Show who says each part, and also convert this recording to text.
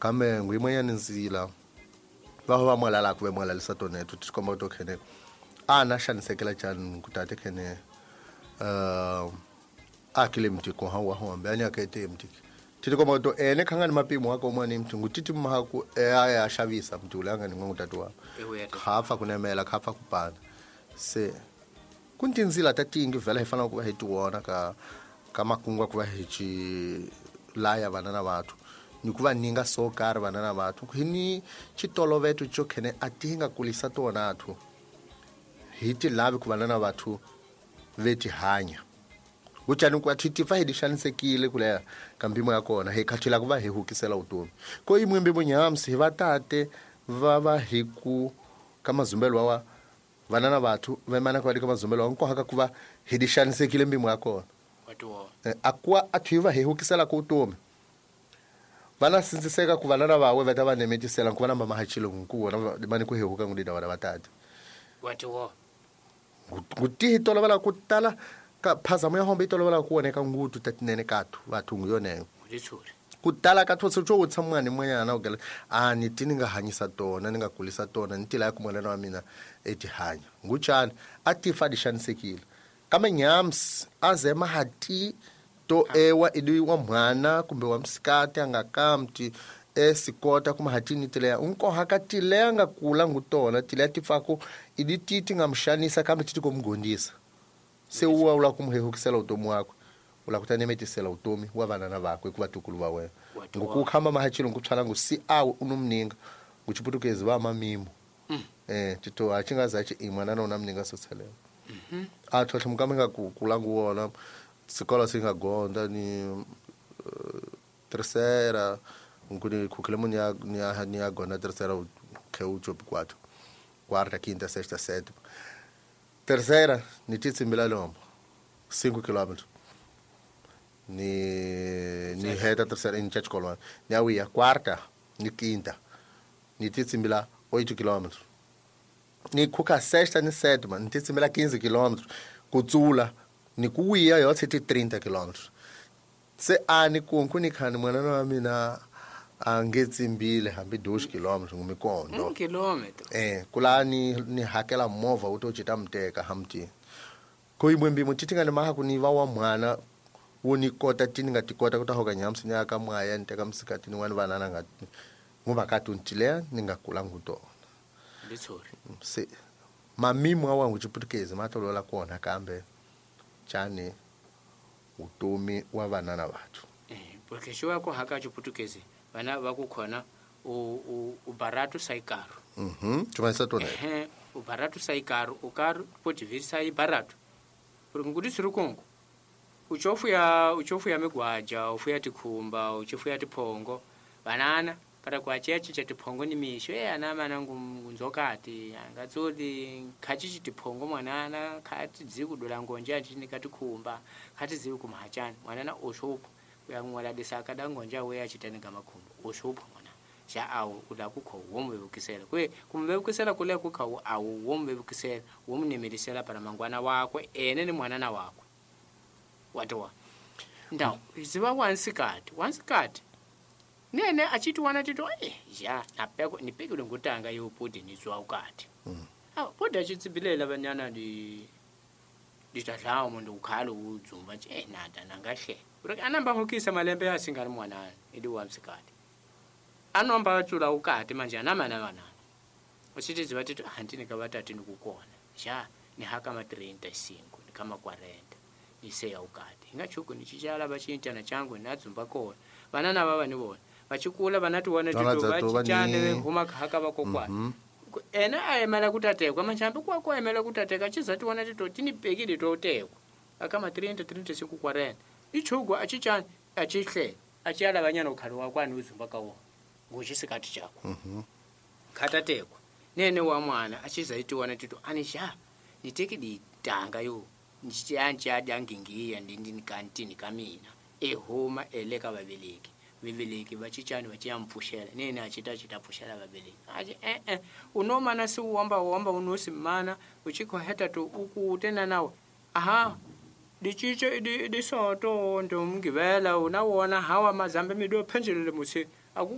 Speaker 1: Kambe nguyimwenyani nzila va va mwalalaka ve mwalalisa toneto ti komba to khene a na xanisekela chani ku tate khene a kile mtiko ha wa hombe ani akete mtiki titi komba to ene khanga ni mapimo wako mwana mti ngutiti mahaku e a xavisa mti ulanga ni ngongo tatu wa khafa kunemela khafa kupana se kuntinzila tatingi vela hi fanele ku va hi tiwona ka makungu ku va hi ci laya vana na vathu ni ku va ninga so karhi vana na vathu hi ni xitoloveto xo khene a ti nga kulisa tona athu hi ti lavi ku vana na vathu ve ti hanya kutani ku athi tifa hi di xanisekile kuleya ka mpimo ya kona hi khathila ku va hi hukisela vutomi ko yimwe mpimo nyamsi hi va tate va va hi ku ka mazumbelo wa vana na vathu vemana ku va ka mazumbelo wa nkohaka ku va hi di xanisekile mpimo ya kona a kuwa a thi va hi hukisela ku vutomi vana sindziseka ku vana na vawe va ta va nemetisela ku va na mamahachilo ku vona mani ku hehuka ngudida vana va tata ngutihi tolovela ku tala ka phazamo ya hombe yi tolovela ku voneka ngutu ta tinene kathu vathu ngu yoneyo ku tala ka those xo wutisa mwana mwanyana u gela a ni ti ni nga hanyisa tona ni nga kulisa tona ni tila ya ku mwanana wa mina e ti hanya nguchani a ti fa di xanisekile kambe nyams a zema ha ti to ewa idi wa mwana kumbe wa msikati a nga kamti e sikota kuma hatini tileya unkoha ka tileya nga kula ngutona tileya ti pfaku idi ti ti nga mxanisa kambe ti ti komugondisa se uwa ula kumuhehukisela utomi wakwe ula kutanemetisela utomi wa vana na vakwe ku vatukulu va wena ngokukhamba mahachilo ngutshwala ngu si awe unomninga nguchiputukezi va mamimo tito achingazachi imwana na unamninga sotselela a tlhotlho mukama nga ku kula nguwona sikolo singa gonda ni terceira nguni khukhile munhu ya ni ya gonda terceira khe u chopi quatro quarta quinta sexta sétima terceira ni titsimbila lombo 5 km ni heta terceira ni cha xikolwana ni ya wiya quarta ni quinta ni titsimbila 8 km ni khukha sexta ni sétima ni titsimbila 15 km ku tsula ni ku wiya yotse ti 30 km se a ni kunku ni khani mwana wa mina a nge tsimbile hambi 2 km ngumikondo
Speaker 2: kilometer
Speaker 1: kula ni hakela movha wu to cita muteka hamti ko imwe mbimo titi nga ni maha ku ni va wa mwana wo ni kota ti ni nga ti kota ku ta hoka nyamsi ni aka mwaya ni teka msikati ni wani vanana nga nguvakati untilea ni nga kula ngutona se mamimu awa nguchiputukezi matolola kuona kambe chani utomi wa vana na vathu
Speaker 2: porque xo ku haka chiputukezi vana va ku khona u barato sai caro
Speaker 1: chumanisa tona
Speaker 2: u barato sai caro u caro pode vir sai barato porque ngudi sirukongo uchofu ya migwaja ufu ya tikhumba uchofu ya tiphongo banana para kwachechi cha tiphongo ni misho ana mana ngunzokati angatsoti khachi tiphongo mwanana khati dzikudula ngonja chini katikhumba khati ziku kumhachana mwanana oshopo uyangwala desaka dangonja we achitanika makhumba oshopo mwana xa awu ula kukho womvevukisela kwe kumvevukisela kule kukha awu womvevukisela womnemelisela para mangwana wakwe ene ni mwanana wakwe watowa ndaw ziva wansikati nene achiti wana tito ya napeko nipekile ngutanga yopudi nizwa ukati podi achitsibilela banyana di ditadlawo mundu ukhalo udzumba nje nada nangahle porque anamba hokisa malembe yasingani mwanana idi wamsikati anomba atsula ukati manje anamana vanana uchiti ziva tito handini kavatati ndikukona ja ni haka ma 35 ni kama 40 niseya ukati ingachuku nichichala vachintana changu nadzumba kona vanana vava ni vona vachikula vanatiwana tito vachichane vehuma haka vakokwana ena aemela kutatekwa machambi kwako aemela kutateka chizatiwana tito tinipekile totekwa akama 30 35 40 ichuku achichane achihle achiyala vanyana ukhalo wakwani uzumba kawo nguchisikati chako khatatekwa nene wa mwana achizaitiwana tito anisha niteke ditanga yo nchianchiadyangingiya ndindikantini kamina ehuma eleka vaveleki vaveleki vachichani vachiyampfuxela nene achita achitapfuxela vaveleki achi unomana si wamba wamba unosimana uchikhoheta to ukute nanawe aha dichiche idisoto ndomgivela unawona hawa mazambe mido phenjelele musi